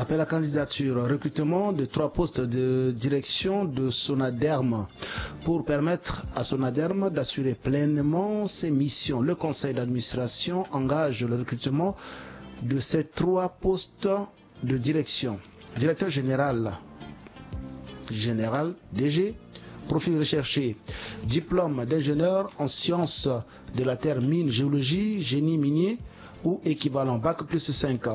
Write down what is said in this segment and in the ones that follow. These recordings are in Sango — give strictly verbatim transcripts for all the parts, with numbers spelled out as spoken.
Appel à candidature, recrutement de trois postes de direction de Sonaderm. Pour permettre à Sonaderm d'assurer pleinement ses missions, le conseil d'administration engage le recrutement de ces trois postes de direction. Directeur général, général, D G, profil recherché, diplôme d'ingénieur en sciences de la terre, mine, géologie, génie minier ou équivalent, bac plus cinq,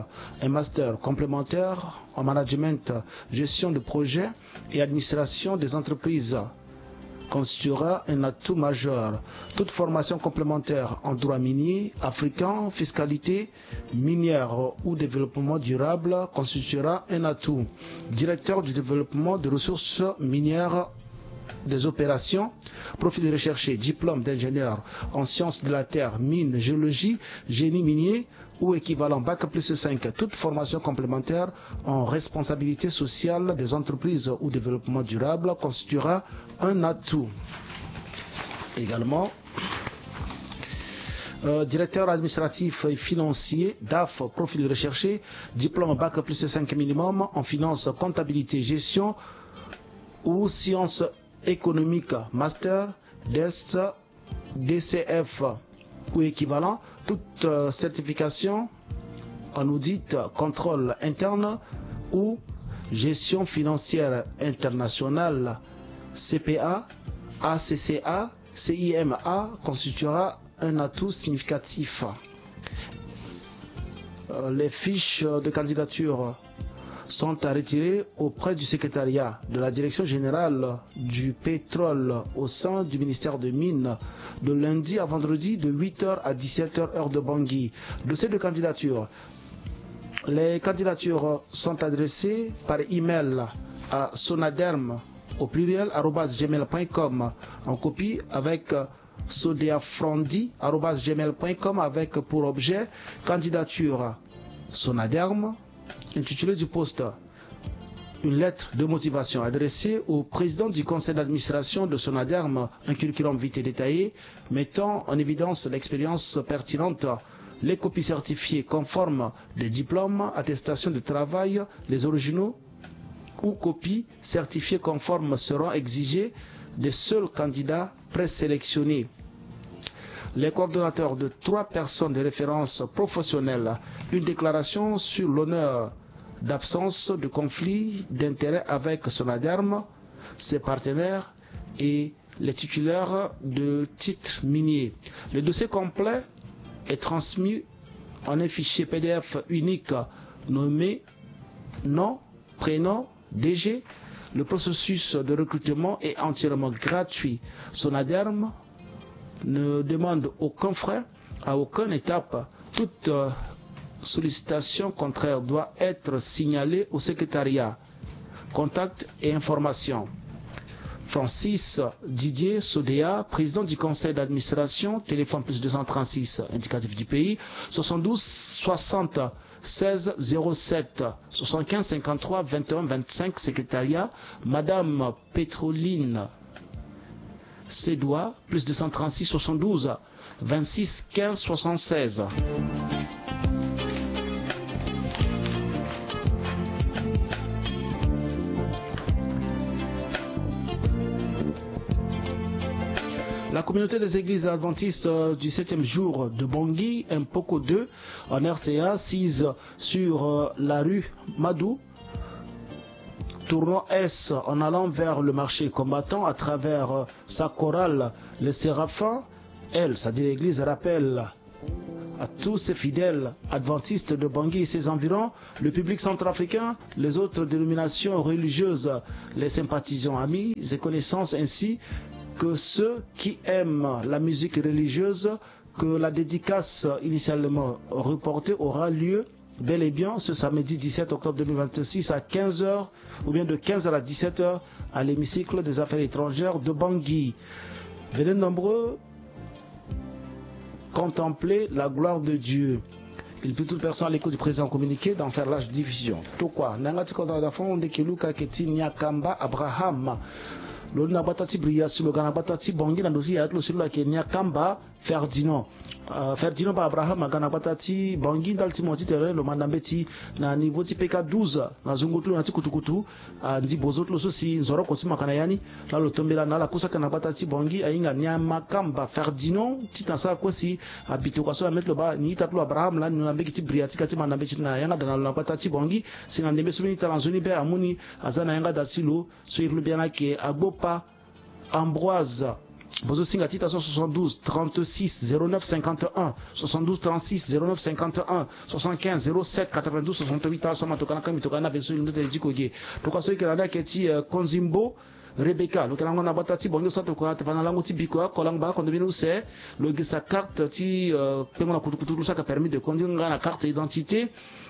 un master complémentaire en management, gestion de projet et administration des entreprises constituera un atout majeur. Toute formation complémentaire en droit minier, africain, fiscalité minière ou développement durable constituera un atout. Directeur du développement des ressources minières des opérations, profil recherché, diplôme d'ingénieur en sciences de la terre, mine, géologie, génie minier ou équivalent, bac plus cinq, toute formation complémentaire en responsabilité sociale des entreprises ou développement durable constituera un atout. Également, euh, directeur administratif et financier, DAF, profil recherché, diplôme bac plus cinq minimum en finance, comptabilité, gestion ou sciences économiques, master, DESS, D C F ou équivalent, toute, euh, certification en audit, contrôle interne ou gestion financière internationale, C P A, A C C A, C I M A, constituera un atout significatif. Euh, les fiches de candidature sont à retirer auprès du secrétariat de la Direction générale du pétrole au sein du ministère des Mines de lundi à vendredi de huit heures à dix-sept heures, heure de Bangui. Dossier de candidature. Les candidatures sont adressées par email à sonaderm au pluriel arobase gmail point com, en copie avec sodeafrandi arobase gmail point com, avec pour objet candidature Sonaderm, intitulé du poste, une lettre de motivation adressée au président du conseil d'administration de Sonaderm, un curriculum vitae détaillé, mettant en évidence l'expérience pertinente, les copies certifiées conformes des diplômes, attestations de travail, les originaux ou copies certifiées conformes seront exigées des seuls candidats présélectionnés. Les coordonnateurs de trois personnes de référence professionnelle, une déclaration sur l'honneur d'absence de conflit d'intérêt avec Sonaderm, ses partenaires et les titulaires de titres miniers. Le dossier complet est transmis en un fichier P D F unique nommé nom, prénom, D G. Le processus de recrutement est entièrement gratuit. Sonaderm ne demande aucun frais à aucune étape. Toute, euh, sollicitation contraire doit être signalée au secrétariat. Contact et information. Francis Didier Sodea, président du conseil d'administration, téléphone plus deux cent trente-six, indicatif du pays, soixante-douze soixante seize zéro sept, soixante-quinze cinquante-trois vingt et un vingt-cinq, secrétariat, Madame Pétroline Sédois, plus deux cent trente-six soixante-douze vingt-six quinze soixante-seize. La communauté des églises adventistes, euh, du septième jour de Bangui, Mpoko deux, en R C A, sise sur, euh, la rue Madou, tournant S en allant vers le marché combattant à travers, euh, sa chorale, les Séraphins. Elle, c'est-à-dire l'église, rappelle à tous ses fidèles adventistes de Bangui et ses environs, le public centrafricain, les autres dénominations religieuses, les sympathisants, amis et connaissances, ainsi que ceux qui aiment la musique religieuse, que la dédicace initialement reportée aura lieu bel et bien ce samedi dix-sept octobre deux mille vingt-six à quinze heures, ou bien de quinze heures à dix-sept heures, à l'hémicycle des affaires étrangères de Bangui. Venez nombreux contempler la gloire de Dieu. Il prie toute personne à l'écoute du présent communiqué d'en faire large diffusion. Tokua na yanga ti kodro na dafon nde ke luka ke ti Niakamba Abraham. Lo ni na gbata ti Bria si lo ga na gbata ti Bangui na ndo ti yaya ti lo si lo lake Niakamba Ferdinand. Euh, Ferdinand Ba Abraham aga na gbata ti Bangui ndali ti mo ti tere lo manda mbeti na niveau ti P K douze na zungu ti lo na ti kutukutu. Ah, ndi bozo ti lo so si nzoroko ti mo ayeke na ya ni. Laa lo tombela na ala kusa ayeke na gbata ti Bangui ahinga Niamakamba Ferdinand titene asara kue si abitokua so na mê ti lo baa ni ita ti lo Abraham lani lo na mbege ti bria ti ka ti manda mbeti na yanga da na lo na gbata ti Bangui. Si na ndembe so mbeni ita na nzoni be amu ni aza na yanga da ti lo so iri lo biani ayeke Agbopa Ambroise. Bozo singa ti ita so soixante-douze trente-six zéro neuf cinquante et un, soixante-douze trente-six zéro neuf cinquante et un, soixante-quinze zéro sept quatre-vingt-douze soixante-huit. Ala so ama tokua na kangbi tokua na be so iri lo ndö ti diko ge. Tokua so eke na ni ayeke ti, euh, Konzimbo Rebecca, lo yeke lango na gbata ti Bangui, lo sara tokua ate fa na lango ti bikua oko lango baa kondo mbeni use. Lo gi sa carte ti, euh, kpengo na kutukutu lo sara ka permis de conduire nga na carte d'identité.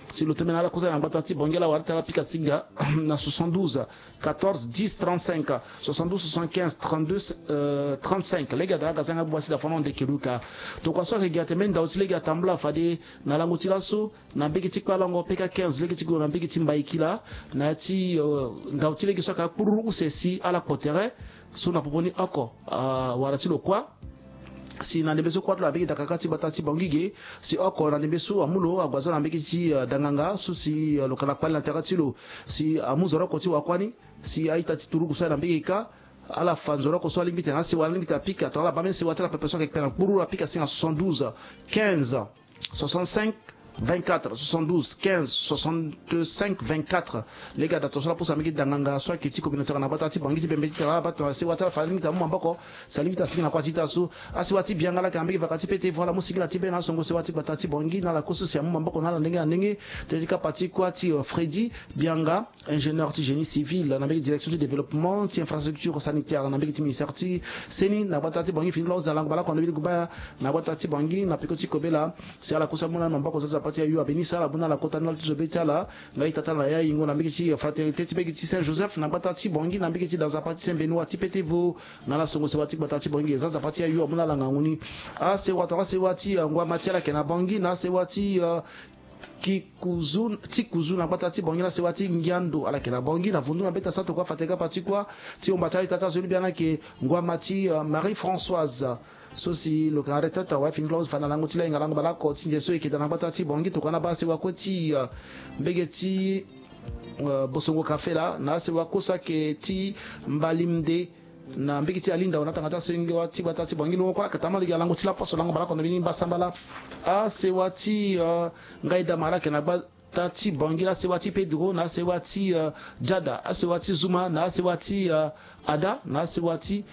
Si lo tombela na ala kusa na gbata ti Bangui ala wara ti ala pika singa na soixante-douze quatorze dix trente-cinq, soixante-douze soixante-quinze trente-deux, euh, trente-cinq. Lege ada aga zanga buba ti da fono ndeke luka. Tokua so ayeke gi ate mbeni ndau ti lege atambula fade na lango ti laso na mbege ti kpalango P K quinze lege ti gue na mbege ti Mbaikila na ya ti, euh, ndau ti lege so ayeke akpururu use si ala kpo tere so na popo ni oko, ah, wara ti lo kuâ. Si na ndembe so kuâ ti lo na mbege dakaka ti gbata ti Bangui ge. Si oko na ndembe so amu lo ague aza na mbege ti, euh, danganga so si, euh, lo yeke na kpali na tere ti lo. Si amu nzoroko ti wakuâ ni. Si a-ita ti turugu so aye na mbege kâ. Ala fa nzoroko so alingbi ti tene asewa alingbi ti tene apika tongana ala baa mbeni sewa ti ala pepe so ayeke kpe na kpururu apika si na soixante-douze quinze soixante-cinq vingt-quatre, soixante-douze quinze soixante-cinq vingt-quatre. Lege ada tongaso ala pusa mbege danganga so ayeke ti communautaire na gbata ti Bangui ti bembe ti tene ala baa tongana sewa ti ala fa alingbi ti amu maboko. Si alingbi ti asigi na kuâ ti ita so. Asewa ti Bianga ala yeke na mbege vaka ti pete vo ala mu singila ti be na asongo sewa ti gbata ti Bangui na ala kue so si amu maboko na ala ndenge na ndenge. Tënë ti kapa ti kuâ ti, euh, Freddy Bianga, ingénieur ti génie civil na mbege direction ti développement ti infrastructure sanitaire na mbege ti ministère ti seni na gbata ti Bangui fini ti lo ahuza lango baleoko na mbeni guba na gbata ti Bangui na peko ti kobela. Si ala kusa mu na ala maboko za nzapa ti ayo abeni si ala mu na ala kota ndali ti zo be ti ala. Nga ita ti ala na ya yingo na mbege ti fraternité ti mbege ti Saint Joseph na gbata ti Bangui na mbege ti da nzapa ti Saint Benoît ti pete vo. Na ala songo sewa ti gbata ti Bangui za nzapa ti ayo amu na ala ngangu ni. Asewa tongana asewa ti, euh, ngua ma ti ala yeke na Bangui na asewa ti, euh, Kikuzu, ti Kuzu na gbata ti Bangui na sewa ti Ngiando ala yeke na Bangui na vundu na beta sa tokua fate kapa ti kuâ ti omba ti ala ita ti azo ni biani ayeke ngua ma ti, euh, Marie Françoise. So si lo yeke na retraite awe fini ti lo ahuza fa na lango ti lahinga lango baleoko ti nze so eke daa na gbata ti Bangui tokua na baa sewa kue ti, euh, mbege ti, euh, Bosongo Kafe laa na asewa kue so ayeke ti Mbalimde. Na mbege ti Alinda na tanga ti asengo ti gbata ti Bangui longo kue ala yeke tambula lege na lango ti laposo lango baleoko na mbeni mbasambala. Asewa ti, euh, Ngaidama ala yeke na gbata ti Bangui na asewa ti Pedro na asewa ti, euh, Jada, asewa ti Zuma na asewa ti, euh, Ada na asewa ti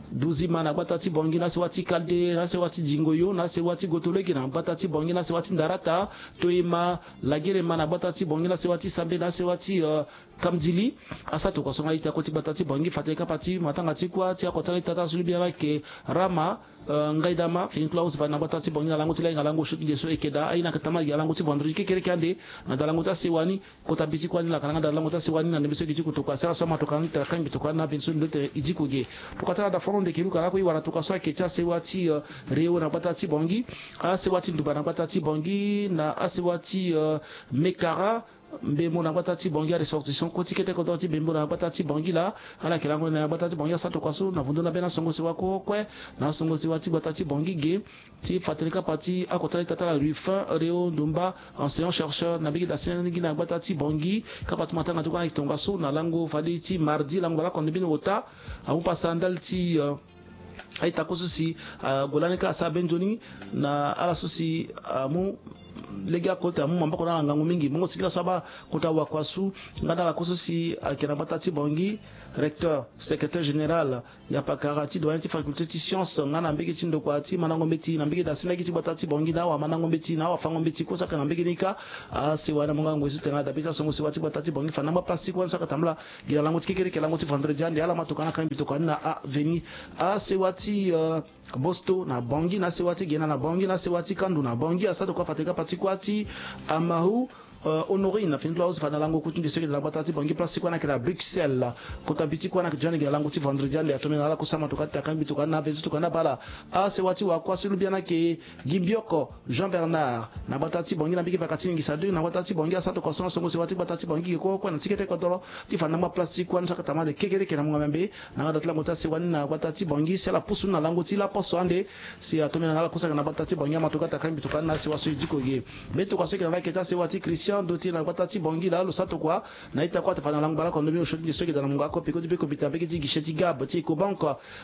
Duzima na gbata ti Bangui na asewa ti Kalde na asewa ti Jingoyo na asewa ti Gotolege na gbata ti Bangui na asewa ti Ndarata, Toyema, Lagerema na gbata ti Bangui na asewa ti Sambe na asewa ti, euh, Kamdili. Asa tokua so nga ita kue ti gbata ti Bangui fade kapa ti matanga ti kuâ ti oko ti ala ita ti azo ni biani ayeke Rama, euh, Ngaidama fini ti lo ahuza fa na gbata ti Bangui na lango ti lahinga lango so ti nze so eke daa aye na yeke tambula gi na lango ti vendredi kekereke ande. Na da lango ti asewa ni kota bi ti kuâ ni lakana nga da lango ti asewa ni na ndembe so eke ti kotokua si ala so ama tokua ni tara kangbi tokua ni na veni so ndo tene e diko ge. Tokua ti ala da fono ndeke luka lakue e wara tokua so ayeke ti asewa ti, euh, Reo na gbata ti Bangui. Asewa ti Nduba na gbata ti Bangui na asewa ti, euh, Mekara. Mbembo na gbata ti Bangui aressortissant kue ti kete kodro ti Mbembo na gbata ti Bangui laa ala yeke lango na gbata ti Bangui asa tokua so na vundu na be na songo sewa kue kue na songo sewa ti gbata ti Bangui ge. Ti fatene kapa ti oko ti ala ita ti ala Ruffin Reo Ndomba enseignant chercheur na mbege da sene ni gi na gbata ti Bangui kapa ti matanga ti kue ayeke tongaso na lango fade ti mardi lango baleoko na mbeni ota. Amu pasa ndali ti, euh, a-ita kue so si, ah, ague lani kâ asara be nzoni na ala so si, ah, amu lege oko ti amu maboko na ala ngangu mingi. Mongo singila so abaa kota wakua su nga na ala kue so si ayeke na gbata ti Bangui, recteur, secrétaire général, yapakara ti doyen ti faculté ti science nga na mbege ti ndokua ti mandango mbeti na mbege da si lege ti gbata ti Bangui na awamandango mbeti na awafango mbeti kue so ayeke na mbege ni kâ. Asewa ni amu nga ngoi so tene ala dabe ti asongo sewa ti gbata ti Bangui fa na ngba place ti kue ni so ayeke tambula gi na lango ti kekereke lango ti vendredi ande ala ma tokua na kangbi tokua ni na aveni. Asewa ti, euh, Bosto na Bangui na asewa ti Gena na Bangui na asewa ti Kandu na Bangui asa tokua fade kapa ti kuâ ti Amahu Euh, Honorine, fini ti lo ahusi fade na lango kuti nde so eke da na gbata ti Bangui, place ti kue na ake na Bruxelles. Kota bi ti kue na ake jani ge na lango ti vendredi ande, atomene na ala kusa ma tokua ti takangbi tokua na aventu tokua na bala. Asewa ti wakua so lubia na ake Gimbioko Jean Bernard na gbata ti Bangui na mbege vaka ti ningisa deux na gbata ti Bangui, asa tokua so na songo sewa ti gbata ti Bangui ge kue kue na ti kete kodoro ti fade na ngba place ti kue ni so ake tama ande kekereke na mungo membe. Na nga da ti lango ti asewa ni na gbata ti Bangui si ala pusu ni na lango ti laposo ande. Si atomene na ala kusa ake na gbata ti Bangui, ama tokua ti takangbi tokua na asewa so e diko ge. Mbe tokua so eke na la eke ti asewa ti Christian Doté na gbata ti Bangui laa lo sa tokua na ita kue ata fade na lango bala kondo mbeni osio ti nde so eke da na mungo oko peko ti be komite na mbege ti guichet ti Gab ti Ecobank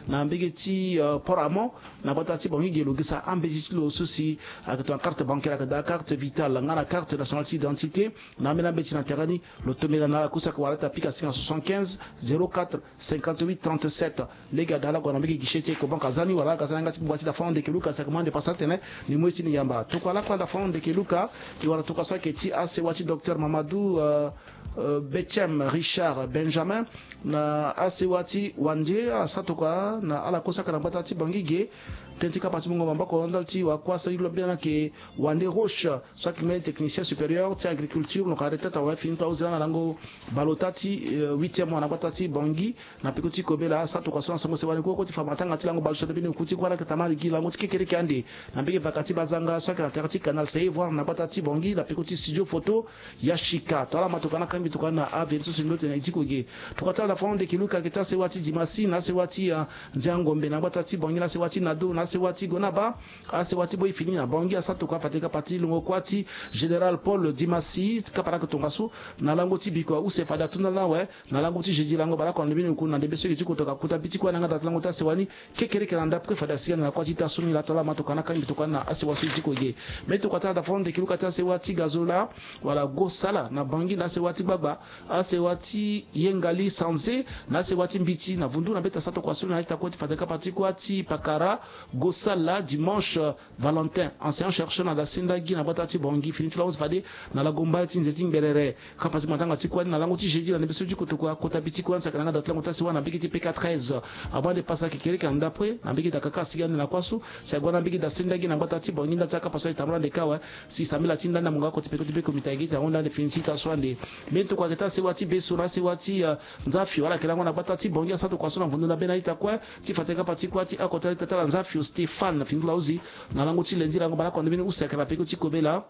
na mbege ti, euh, Port Amont na gbata ti Bangui ge lo gesa ambeti ti lo so si ake tongana carte bancaire, ake daa carte vitale nga na carte nationale ti identité. Na ambeni ambeti na tere ni lo tomene na ala kusa ake wara ti apika si na soixante-quinze zéro quatre cinquante-huit trente-sept. Lege ada ala gue na mbege guichet ti Ecobank aza ni wala aga aza na yanga ti kpukpa ti Dafon Ndeke Luka, si ake mu ande pasa atene ni mu ye ti ni yamba. Tokua lakue Dafon Ndeke Luka, e wara tokua so ayeke ti asewa ti docteur Mamadou, euh, euh, Betchem Richard Benjamin na asewa ti Wandje, ala sa tokua na ala kue so ayeke na gbata ti Bangui ge. Tënë ti kapa ti mungo maboko ndali ti wakua so e lobi ni ayeke Wandje Roche, so ayeke mbeni technicien supérieur ti agriculture, lo ka arrêté awe fini ti lo ahusi laa na lango bale ota ti, euh, huitième mois na gbata ti Bangui. Na peko ti kobela, sa tokua so na songo sewa ni kue kue ti fa matanga ti lango bale so na mbeni oku ti kue na ake tama gi lango ti kekereke ande na mbege vaka ti bazanga so ayeke na tere ti canal Save, voire na gbata ti Bangui na peko ti studio photo Yashika. Tongana ama tokua na kangbi tokua na aventu so si ndo tene e diko ge. Tokua ti ala Dafon Ndeke Luka ake ti asewa ti Dimasi na asewa ti, euh, Nziangombe na gbata ti Bangui na asewa ti Nado na asewa ti Gonaba. Asewa ti Boi fini na Bangui asa tokua fade kapa ti longo kuâ ti Général Paul Dimasi, kapa na ake tongaso na lango ti bikua use fade atunga na awe na lango ti jeudi lango bale oko na ndembe ni oku na ndembe so eke ti kotoka kota bi ti kue na yanga da ti lango ti asewa ni kekereke na ndapre fade asi ande na kuâ ti ita so ni laa. Tongana ama tokua na kangbi tokua na asewa so e diko ge. Me tokua ti ala Dafon Ndeke Luka ti asewa ti Gazola wala Gosala na Bangui na asewa ti Gbagba, asewa ti Yengali Sanze na asewa ti Mbiti na Vundu na mbeta sa tokua so ni na ita kue ti fade kapa ti kuâ ti pakara Gosala Dimanche Valentin, enseignant chercheur na Dasinda Gi na gbata ti Bangui, fini ti lo ahusi fade na lago mbai ti nze ti Ngberere. Kapa ti matanga ti kue ni na lango ti jeudi na ndembe so ti kotokua kota bi ti kue ni saka na yanga da ti lango ti asewa na mbege ti P K treize. Abaa nde pasa kekereke na ndapre na mbege da kaka asigi ande na kuâ so si ague na mbege da senda gi na gbata ti Bangui ndali ti akapa so aye tambula ande kâ awe. Si sambela ti nda ni na mungo oko ti peko ti be komite ayeke gi ti ahunda ande fini ti ita so ande. Mbeni tokua ayeke ti asewa ti Beso na asewa ti, euh, Nzafio, ala yeke lango na gbata ti Bangui asa tokua so na vundu na be na ita kue ti fa tene kapa ti kuâ ti oko ti ala ita ti ala Nzafio Stéphane, fini ti lo ahusi na lango ti lendi lango bale oko na ndembe ni use ayeke na peko ti kobela.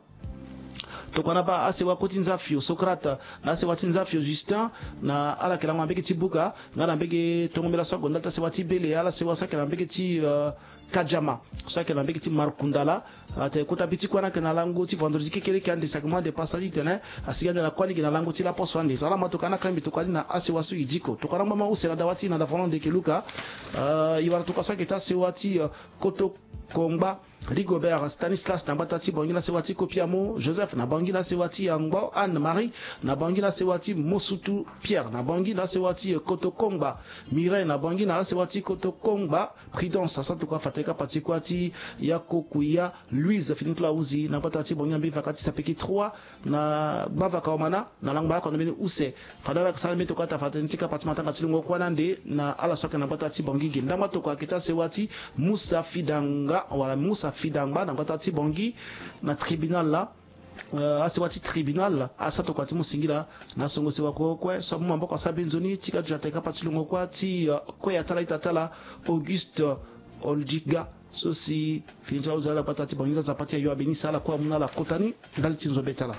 Tokua na baa asewa kue ti Nzafio Socrate na asewa ti Nzafio Justin, na ala yeke lango na mbege ti Buka nga na mbege tongo mbela so ague ndali ti asewa ti Bele, ala sewa so ayeke na mbege ti, euh, Kadiama so ayeke na mbege ti Markundala. Atene kota bi ti kue ni ayeke na lango ti vendredi kekereke ande, saki mu ande pasa titene asigi ande na kuâ ni ge na lango ti laposo ande. Tongana ama tokua na kangbi tokua ni na asewa so e diko. Tokua na ngba ma use na dawa ti e na Dafon Ndeke Luka. Euh, e wara tokua so ayeke ti asewa ti, euh, Koto Kongba Rigobert Stanislas na gbata ti Bangui na sewa ti Kopiamo Joseph, na Bangui na sewa ti Yangbo Anne Marie, na Bangui na sewa ti Mosutu Pierre, na Bangui na sewa ti Koto Kongba Mireille, na Bangui na sewa ti Koto Kongba Prudence. Asa tokua fa tene kapa ti kuâ ti Yakokuya Louise, fini ti lo ahusi na gbata ti Bangui na mbeni vaka ti sapeki trois na gbavaka omana na lango bale oko na mbeni use. Fade ala yeke sara mbeni tokua ata fa tene ti kapa ti matanga ti lungo kuâ ni ande na ala so ayeke na gbata ti Bangui ge. Ndangba tokua ayeke ti asewa ti Musa Fidanga wala Musa Fidangba na gbata ti Bangui na tribunal laa. Euh, asewa ti tribunal asa tokua ti mu singila na songo sewa kue kue so amu maboko asa be nzoni ti ka duti atene kapa ti lungo kuâ ti, euh, kue ya ti ala ita ti ala Auguste Oldiga, so si fini ti lo ahusi ala gbata ti Bangui, Nzapa ti ayo abenisa ala kue amu na ala kota ni ndali ti nzoni be ti ala.